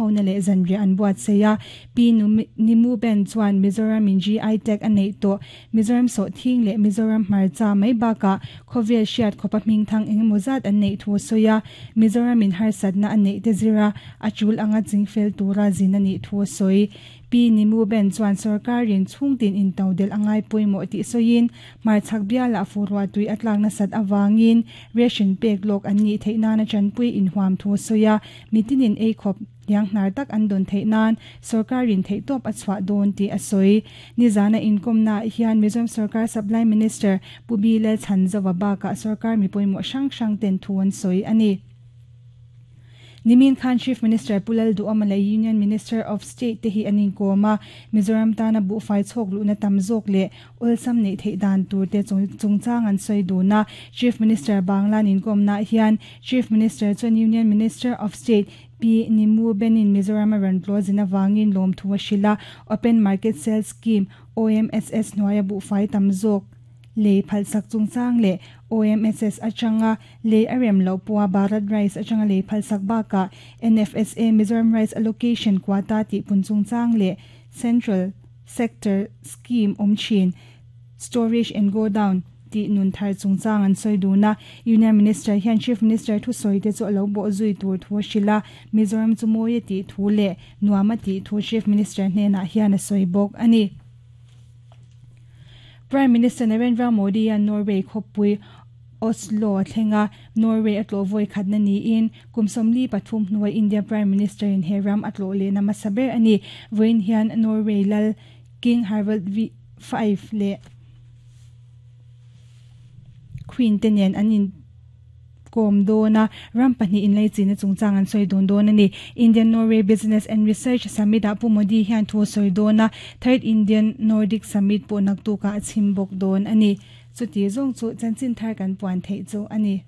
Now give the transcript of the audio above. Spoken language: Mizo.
hona leh zanriah an buatsaih a. Pi Nimu Ben chuan Mizoram in GI tag a neih tawh Mizoram sawhthing leh Mizoram hmarcha mai bakah khawvel hriat khawpa hmingthang engemaw zat an neih thu a sawi a. Mizoram in harsatna a neih te zira a tul anga chingfel tura zin a nih thu a sawi. Pi Nimu Ben chuan sorkarin chhungtin intodelh a ngai pawimawh tih sawiin hmarchhak bialah fuhruah tui a tlak nasat avangin ration pek lawk an nih theih nana tanpui inhuam thu a sawi a, mitinin ei khawp liang hnar tak an dawn theih nan sorkarin theihtawp a chhuah dawn tih a sawi. Nizana inkawmnaah hian Mizoram sorkar Supply Minister Pu Bi Lalchhanzova bakah sorkar mi pawimawh hrang hrang ten thu an sawi a ni. Nimin khan Chief Minister Pu Lalduhawma leh Union Minister of State te hi an inkawm a, Mizoram tana buhfai chhawk luhna tam zawk leh awlsam neih theih dan tur te chungchang an sawi dun a. Chief Minister Banglan inkawmnaah hian Chief Minister chuan Union Minister of State Pi Nimu Benin Mizoram a rawn tlawh zin avangin lawmthu a hrilh a, Open Market Sale Scheme, OMSS, hnuaia buhfai tam zawk lei phalsak chungchang leh OMSS atanga lei a rem loh pawha Bharat Rice atanga lei phalsak bakah NFSA Mizoram Rice Allocation Quota tih pun chungchang leh Central Sector Scheme awm thin Storage and Godown tih nun thar chungchang an sawi dun a. Union Minister hian Chief Minister thusawi te chu a lo bawh zui tur thu a hrilh a, Mizoram chu mawi a tih thu leh nuam a tih thu Chief Minister hnenah hian a sawi bawk a ni. Prime Minister Narendra Modi hian Norway khawpui Oslo a thleng a, Norway a tlawh vawi khatna niin kum 43 hnuai India Prime Minister in he ram a tlawh lehna hmasa ber a ni. Vawiin hian Norway lal King Harald V leh Queen te nen an in kawm dawn a, ram pahnih inleichina chungchang an sawi dun dawn a ni. Indian Norway Business and Research Summit ah Pu Modi hian thu a sawi dawn a, Third Indian Nordic Summit pawh naktukah a chhim bawk dawn a ni. Chuti zawng chu chanchin thar kan puan theih chu a ni.